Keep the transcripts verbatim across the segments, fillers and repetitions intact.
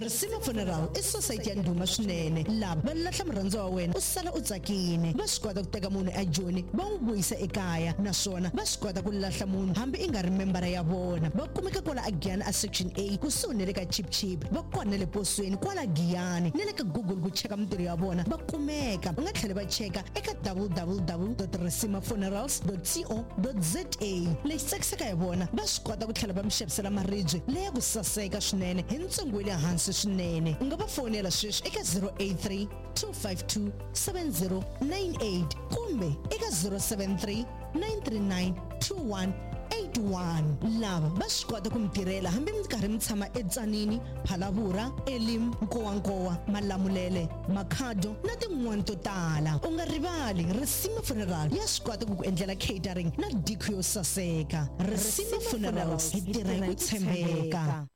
Risima Funeral i society ya ndhuma swinene. Lava va lahla murhandziwa wa wena u sala u tsakile. Va swi kota ku teka munhu ejoni va n'wi vuyisa ekaya, naswona va swi kota ku lahla munhu hambi i nga ri membara ya vona. Va kumeka kwala Giyani a Section A kusuhi na le ka Chip Chip. Va kona na le posweni kwala Giyani na le ka Google ku cheka mintirho ya vona va kumeka. U nga tlhela va cheka eka w w w dot risima funerals dot co dot za. Lexi tsakisaka hi vona, va swi kota ku tlhela va mi xavisela maribye leya ku saseka swinene hi ntsengo wa le hansi swinene. U nga va fonela sweswi eka zero eight three, two five two, seven zero nine eight kumbe eka zero seven three, nine three nine, two one eight one. Lava va swi kota ku mi tirhela hambi mi karhi mi tshama eTsanini, Phalavura, Elim, Nkowankowa, Malamulele, Makhado na tin'wani to tala. U nga rivali, Risima Funeral ya swi kota ku ku endlela catering na diko yo saseka. Risima Funerals, hi tirha hi ku tshembeka.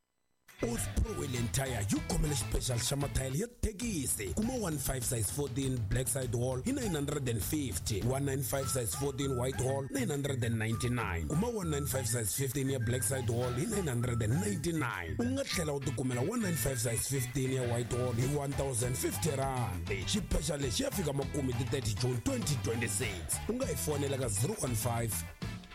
Osprey Wheel and Tire yi khomele xipexal xa mathayele ya thekisi. Kuma one five size fourteen black side wall hi nine hundred and fifty, one nine five size fourteen white wall nine hundred and ninety-nine. Kuma one nine five size fifteen ya black side wall hi nine hundred and ninety-nine. U nga tlhela u tikumela one nine five size fifteen ya white wall hi one thousand fifty rand. Xipexal lexi ya fika makumu hi ti thirty June twenty twenty-six. U nga hi fonela ka zero one five,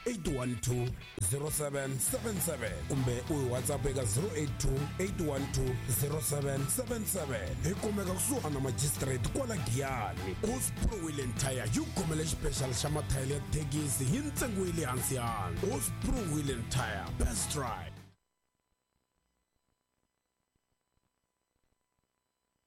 eight one two, zero seven seven seven kumbe u hi WhatsApp eka zero eight two, eight one two, zero seven seven seven. Hi kumeka kusuhana na magistrate kwala Giyani. Osprey Wheel and Tire yi khomele xipexal xa mathayele ya thekisi hi ntsengo wa le hansi hansi. Osprey Wheel and Tire, best ride.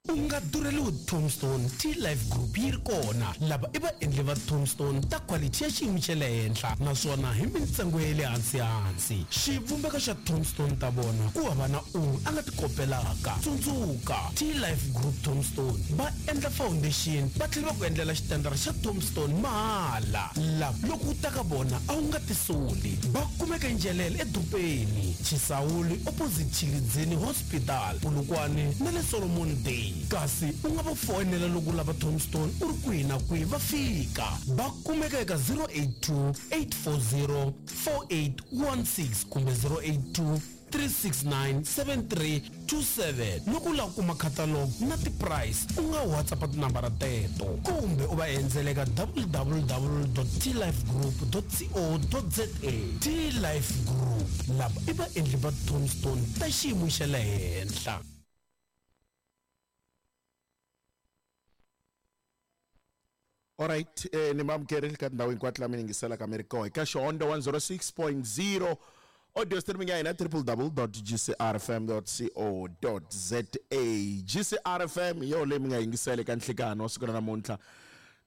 U nga durheliwi Tombstone, T-Life Group yi ri kona. Lava i vaendli va Tombstone ta quality ya xiyimo xa le henhla naswona hi mintsengo ya le hansi hansi. Xivumbeko xa Tombstone ta vona ku hava na un'we a nga ti kopelaka. Tsundzuka, T-Life Group Tombstone va endla foundation va tlhela va ku endlela xitandara xa Tombstone mahala. Lava loko u ta ka vona a wu nga tisoli. Va kumeka Njelele edorobeni, Chisawuli opposite Tshilidzini Hospital, Polokwane na le Solomon Day. Kasi u nga va foyinela loko u lava Tombstone u ri kwihi na kwihi va fika. Va kumeka eka zero eight two, eight four zero, four eight one six kumbe zero eight two, three six nine, seven three two seven. Loko u lava ku kuma catalog na ti-price, u nga WhatsApp tinambara teto kumbe u va endzela eka w w w dot t life group dot co dot za. T-Life Group, lava i vaendli va Tombstone ta xiyimo xa le henhla. All right, eh, ni mamukerile ka tindhawu hinkwato laha mi yingiselaka mi ri kona eka Xihondzo one zero six point zero audio streaming ya hina triple w dot g c r f m dot co dot z a. G C R F M hi yo leyi mi nga yingisela eka nhlikano wa siku ra namuntlha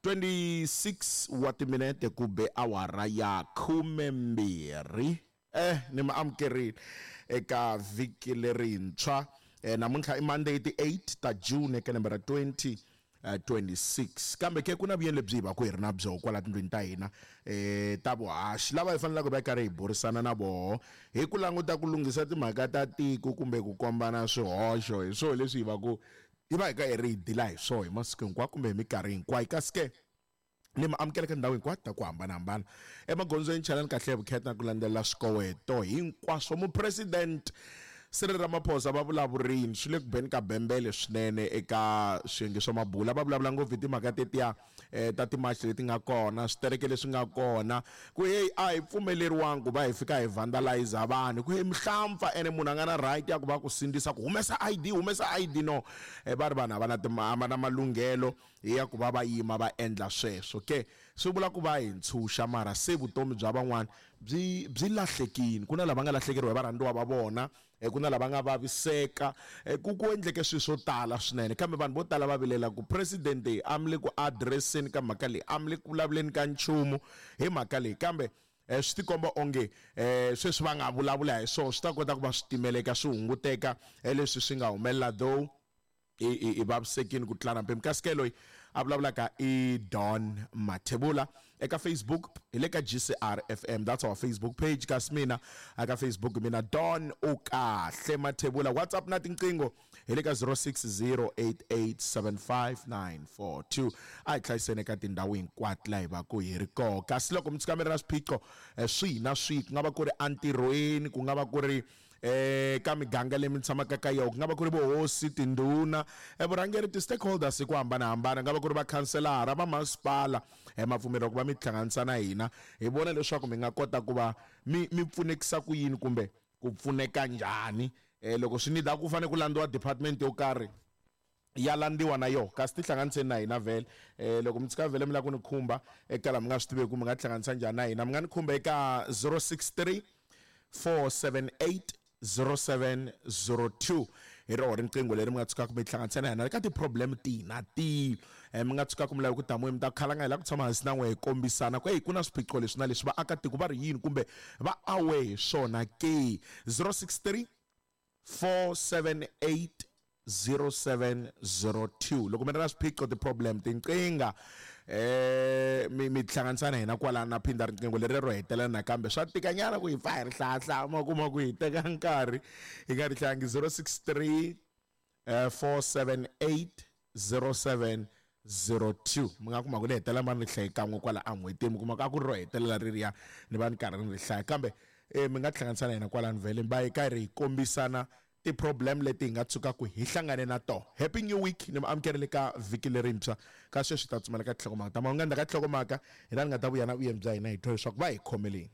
twenty-six wa timinete ku be awara ya khumembirhi. Eh, ni mi amukerile eka vhiki lerintshwa. Eh, namuntlha i Monday ti eight ta June eka lembe ra twenty twenty-six. Kambe ke ku na vuyelo lebyi hi va ku hi ri na byo kwala tindlwini ta hina, eh, ta vuhaxi lava hi fanelaka hi va karhi hi burisana na voho hi ku languta ku lunghisa timhaka ta tiko kumbe ku kombana swihoxo. Hi swona leswi hi va ku hi va hi ka hi ri hi dila hi swona hi masiku hinkwawo kumbe hi minkarhi hinkwayo. Kasi ke ni mi amukela ka ndhawu hinkwato ta ku hambanahambana emagondzweni, chalani kahle hi vukheta na ku landzelela swikoweto hinkwaswo. Mupresident Cyril Ramaphosa va vulavurini swi le ku beni ka bembele swinene eka swiyenge swa mabula. Va vulavula ngopfu hi timhaka tetiya, eh, ta timachi leti nga kona, switereke leswi nga kona, ku hey a hi pfumeleriwangi ku va hi fika hi vandalize vanhu, ku hey mihlampfa ene munhu a nga na right ya ku va ku sindzisa ku humesa I D, humesa I D. No, eh, va ri vanhu a va na tima-, a va na malunghelo ya ku va va yima va endla sweswo. Ke swi vula ku va hi ntshunxa, mara se vutomi bya van'wana byi, byi lahlekile. Ku na lava nga lahlekeriwa hi varhandziwa va vona, eh, ku na lava nga vaviseka, eh, ku, ku endleke swilo swo tala swinene. Kambe vanhu vo tala va vilela ku president a mi le ku addresseni ka mhaka leyi, a mi le ku vulavuleni ka nchumu hi mhaka leyi. Kambe, eh, swi tikomba onge, eh, sweswi va nga vulavula hi swona swi ta kota ku va swi timeleka, swi hunguteka, eh, leswi swi nga humelela, though i, i, i vavisekile ku tlula na mpimo. Kasi ke loyi a vulavulaka i Don Mathebula eka Facebook, hi le ka G C R F M, that's our Facebook page. Kasi mina aka Facebook mina Don u kahle Mathebula. WhatsApp na tinqingho hi le ka zero six zero eight eight seven five nine four two. A hi hlayiseni eka tindhawu hinkwato laha hi va ku hi ri kona. Kasi loko mi tshuka mi ri na swiphiqo, eh, swihi na swihi, ku nga va ku ri entirhweni, ku nga va ku ri eh ka miganga leyi mi tshamaka ka yona ku nga va ku ri vohosi tindhuna eh, vurhangeri ti-stakeholders hi ku hambanahambana nga va ku ri vakhanselara va masipala eh, mapfumelo ku va mi tihlanganisa na hina hi vona leswaku mi nga kota ku va mi mi pfunekisa ku yini kumbe ku pfuneka njhani eh, loko swi nida ku fanele ku landziwa department yo karhi ya landziwa na yoho kasi tihlanganiseni na hina vhele eh loko mi tshika vhele mi lava ku ni khumba eka laha mi nga swi tiveki mi nga tihlanganisa njhani na hina mi nga ni khumba eka zero six three four seven eight zero seven zero two hi roho riqingho leri mi nga tshukaka mi tihlanganisa na hina eka ti-problem tihi na tihi um mi nga tshukaka mi lava ku tamuwe mi ta khalanga hi lava ku tshama hansi na n'we hi kombisana ku hey ku na swiphiqo leswi na leswi vaakatiko va ri yini kumbe va awe hi swona ke zero six three four seven eight zero seven zero two loko mi ri na swiphiqo ti-problem tinqingha eh mi mi tihlanganisa na hina kwalano na phinda riqingho leri ro hetelela nakambe swa tikanyana ku hi pfa hi ri hlayahlaya ma kuma ku hi teka nkarhi hi nga ri hlangi zero six three eh, four seven eight zero seven zero two mi nga kuma ku ri hetelela ma ni ri hlaye kan'we kwala en'hwetini mi kuma ku a ku ri ro hetelela ri riya ni va ni karhi ni ri hlaya kambe eh, mi nga tihlanganisa na hina kwalano vhele va hi karhi hi kombisana ti-problem leti hi nga tshukaka hi hlangane na tona. Happy new week ni mi amukerile ka vhiki lerintshwa ka sweswi ta tsumela ka tinhlokomhaka ta mahungu. Endzhaku ka tinhlokomhaka hi laha ni nga ta vuya na vuyeni bya hina hi twa leswaku va hi khomeleni.